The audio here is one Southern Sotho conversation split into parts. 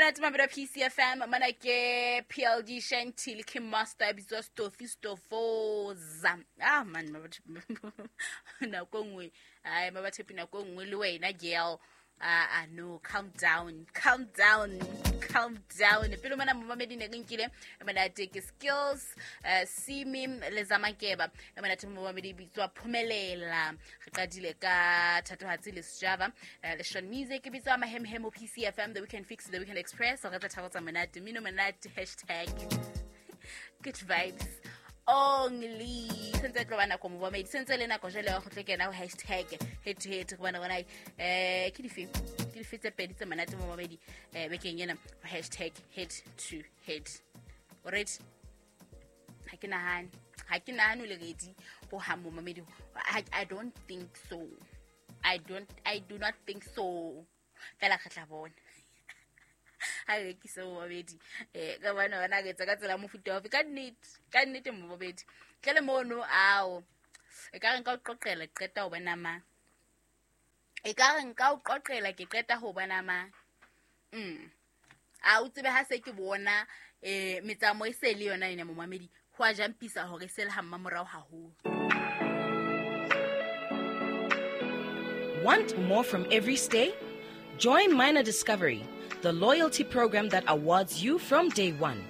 Monate mabelo PCFM mana ke PLD Shanti le Kim Master bitswa Stofi Stofoza. Ah man, nako nngwe ai mabathepi, nako nngwe le wena girl. Ah, no, calm down, calm down, calm down. Pele mona momamedi ne re nkile monate ke Skills, Simi le Zamakeba. Monate momamedi bitswa Phumelela. Re qadile ka Thatohatsi le Sjava, le Sean Music bitswa Mahemhemo. PCFM, the Weekend Fix, the Weekend Express. Re tla thabo tsa monate, mino monate, #GoodVibes only. Sentse tlo ba nako momamedi, sentse le nako jale wa go tlo kena ho #HeadToHead go bona bona ke dife tse pedi tse monate momamedi bekeng ena ho #HeadToHead. Alright, ha ke nahane o le ready ho hang momamedi. I don't think so. I do not think so. Fela re tla bona ha re rekise momamedi ka bana bana re etsa ka tsela mofuta ofe. Ka nnete momamedi, tle le mono ao e ka re nka o qoqela, qeta ho bona mang, e ka re nka o qoqela, ke qeta ho bona mang. A o tsebe ha se ke bona metsamao e se le yona ena momamedi, ho a jampisa hore e se le ha mmamorao haholo. Want more from every stay? Join Minor Discovery, the loyalty program that awards you from day one.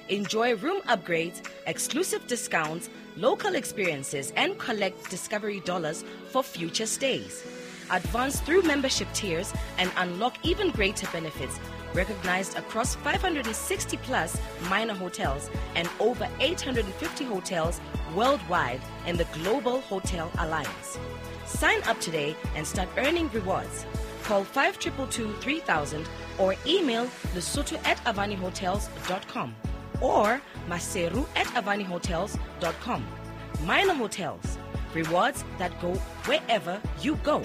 Enjoy room upgrades, exclusive discounts, local experiences, and collect Discovery dollars for future stays. Advance through membership tiers and unlock even greater benefits, recognized across 560 plus Minor hotels and over 850 hotels worldwide in the Global Hotel Alliance. Sign up today and start earning rewards. Call 5222 3000 or email lesotho@avanihotels.com or maseru@avanihotels.com. Minor Hotels, rewards that go wherever you go.